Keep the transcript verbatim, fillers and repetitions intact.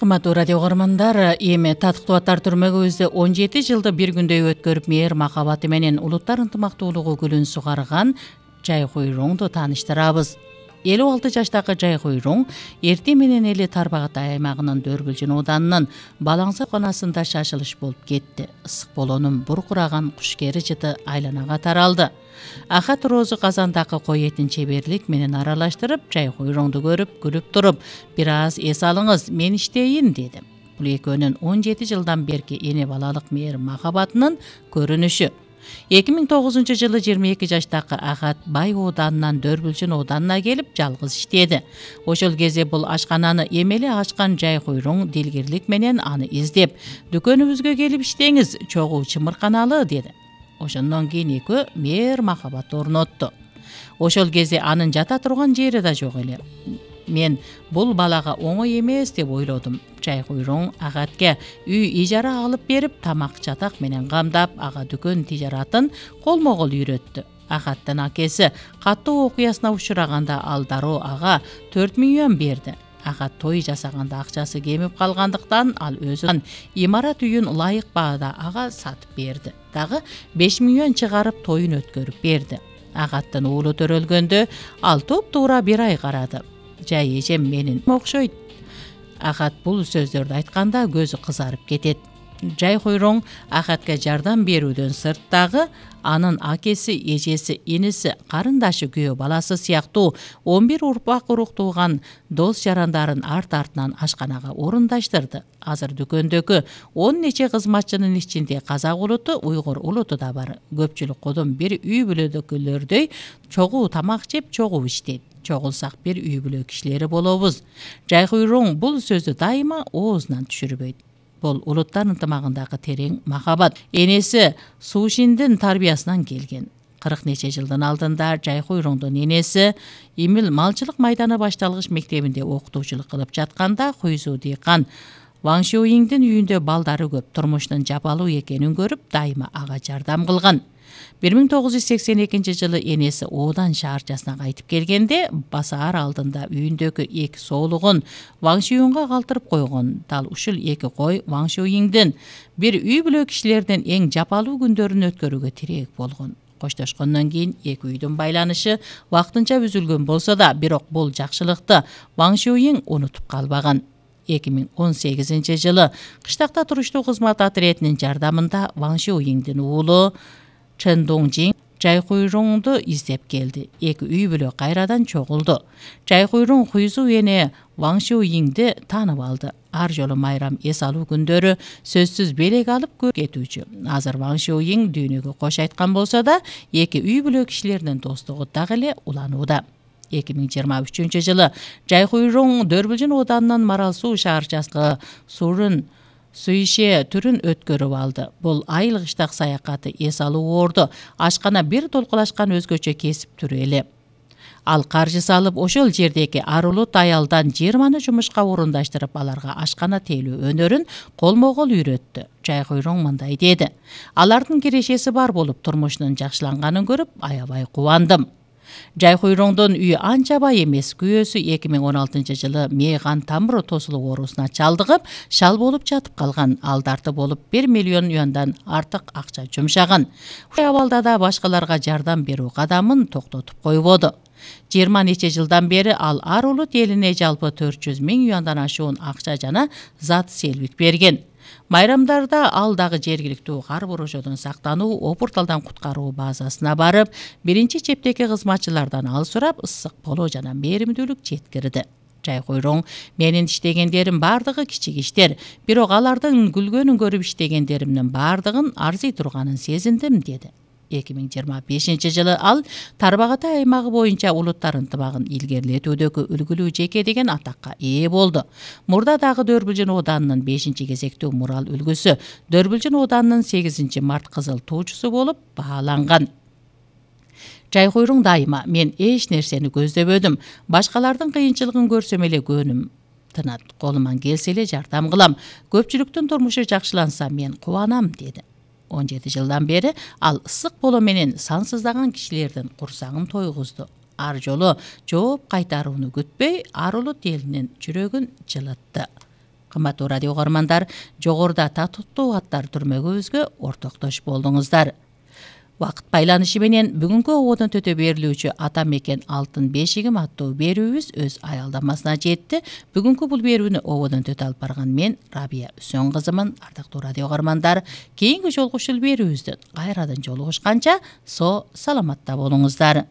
Кымбаттуу радио көрөрмандар, эми Татыктуу түрмөгүбүздө он жети жылды бир күндөй өткөрүп, мээр махабаты менен улуттар ынтымактуулугу гүлүн сугарган Жайкуйруңду тааныштырабыз. элүү алты жаштагы Жайкуйруң эртең менен эле Тарбагатай аймагынын Дөрбүлжүн ооданынын Балаңса канасында шашылыш болуп кетти. Ысык болоонун буркураган кушкери жыты айланага таралды. Ахат Розу казандагы кой этин чеберлик менен аралаштырып, Жайкуйруңду көрүп, күлүп туруп, бир аз эс алыңыз, мен иштейин деди. Бул экөөнүн он жети жылдан берки эне балалык мээр махабатынын көрүнүшү. эки миң тогузунчу жылы жыйырма эки жаштагы Ахат Бай ооданынан Дөрбүлжүн ооданына келип жалгыз иштеди. Ошол кезде бул ашкананы эмеле ачкан Жайкуйруң дилгирлик менен аны издеп, дүкөнүбүзгө келип иштеңиз, чогуу чымырканалы деди. Ошондон кийин экөө мээр махабат орнотту. Ошол кезде анын жата турган жери да жок эле. Мен бул балага оңой эмес деп ойлодум. Жайкуйруң Ахатке үй ижара алып берип, тамак чатак менен камдап, ага дүкөн тижаратын колмо-кол үйрөттү. Ахаттын акеси каттуу окуясына учураганда ал дароо ага төрт миллион берди. Ахат той жасаганда акчасы кемип калгандыктан ал өзүнүн имарат үйүн ылайык баада ага сатып берди. Дагы беш миллион чыгарып тоюн өткөрүп берди. Ахаттын уулу төрөлгөндө ал туп-туура бир ай карады. Жай эжем менин окшойт. Ахат бул сөздөрдү айтканда көзү кызарып кетет. Жайкуйруң Ахатка жардам берүүдөн сырттагы анын акеси, эжеси, иниси, карындашы, күйөө баласы сыяктуу он бир урпак уруктууган дос жарандарын арт-артынан ашканага орундаштырды. Азыр дүкөндөгү он нече кызматчынын ичинде казак улуту, уйгур улуту да бар. Көпчүлүк кодом бир үй бүлөдөгүлөрдөй чогуу тамак жеп, чогуу иштейт. Чогулсак бир үй бүлө кишилери болобуз. Жайкуйруң бул сөздү дайыма оозунан түшүрбөйт. Бул улуттар ынтымагындагы терең махабат. Энеси Сушиндин тарбиясынан келген. кырк нече жылдын алдында Жайкуйруңдун энеси Имил малчылык майданы башталгыч мектебинде окутуучулук кылып жатканда Хуйзу дыйкан Ваң Шуйиңдин үйүндө балдары көп, турмуштун жапалуу экенин көрүп, дайыма ага жардам кылган. бир миң тогуз жүз сексен экинчи жылы энеси оодан шаарчасына кайтып келгенде, басаар алдында үйүндөгү эки соолугун Ваң Шуйиңга калтырып койгон. Дал ушул эки кой Ваң Шуйиңдин бир үй бүлө кишилердин эң жапалуу күндөрүн өткөрүүгө тирек болгон. Коштошкондон кийин эки үйдүн байланышы вактынча үзүлгөн болсо да, бирок бул жакшылыкты Ваң Шуйиң унутуп калбаган. эки миң он сегизинчи жылы кыштакта туруштуу кызмат отрядынын жардамында Ваң Шуйиңдин уулу Чен Доңжиң Жайкуйруңду издеп келди. Эки үй бүлө кайрадан чогулду. Жайкуйруң Хуйзу эне Ваң Шуйиңди таанып алды. Ар жолу майрам эс алуу күндөрү сөзсүз белек алып көрүп кетүүчү. Азыр Ваң Шуйиң дүйнөгө кош айткан болсо да, эки үй бүлө кишилеринин достугу дагы эле уланууда. эки миң жыйырма үчүнчү жылы Жайкуйруң Дөрбүлжүн ооданынын Марал суу шаарчасындагы Сурун Суише түрүн өткөрүп алды. Бул айыл кыштак саякаты эс алуу орду, ашкана бир толкулашкан өзгөчө кесип түрү эле. Ал каржы салып, ошол жердеги арулут аялдан жыйырманы жумушка орундаштырып, аларга ашкана тейлөө өнөрүн колмо-кол үйрөттү. Жайкуйруң мындай деди: алардын кирешеси бар болуп, турмушунун жакшыланганын көрүп, аябай кубандым. Жайкуйруңдун үйү анча бай эмес. Күйөөсү эки миң он алтынчы жылы мейган тамыр тосулук оорусуна чалдыгып, шал болуп жатып калган. Ал дарты болуп бир миллион юандан артык акча жумшаган. Ушул абалда да башкаларга жардам берүү кадамын токтотуп койбоду. жыйырма нече жылдан бери ал ар улут элине жалпы төрт жүз миң юандан ашуун акча жана зат селбик берген. Майрамдарда ал дагы жергиликтүү кар борожодон сактануу, опурталдан куткаруу базасына барып, биринчи чептеги кызматчылардан ал сурап, ысык болуу жана мээримдүүлүк жеткирди. Жайкуйруң: менин иштегендерим бардыгы кичик иштер, бирок алардын күлгөнүн көрүп иштегендеримдин бардыгын арзый турганын сезиндим, деди. эки миң жыйырма бешинчи жылы ал Тарбагатай аймагы боюнча улуттар ынтымагын илгерилетүүдөгү үлгүлүү жеке деген атакка ээ болду. Мурда дагы Дөрбүлжүн ооданынын бешинчи кезектүү мурал үлгүсү, Дөрбүлжүн ооданынын сегизинчи март кызыл туучусу болуп бааланган. Жайкуйруң дайыма: мен эч нерсени көздөбөдүм, башкалардын кыйынчылыгын көрсөм эле көңүлүм тынат, колуман келсе эле жардам кылам, көпчүлүктүн турмушу жакшыланса мен кубанам, деди. он жети жылдан бери ал ысык боло менен сансыздаган кишилердин курсагын тойгузду. Ар жолу жооп кайтарууну күтпөй, ар улут элинин жүрөгүн жылытты. Кымбаттуу радио угармандар, жогоруда татыктуу аттар түрмөгүбүзгө ортоктош болдуңуздар. Убакыт байланышы менен бүгүнкү ободон төтө берилүүчү Ата мекен алтын бешигим аттуу берүүбүз өз аялдамасына жетти. Бүгүнкү бул берүүнү ободон төтө алып барган мен Рабия Үсөн кызымын. Ардактуу радио угармандар, кийинки жолугушуу берүүбүздөн кайрадан жолугушканча со саламатта болуңуздар.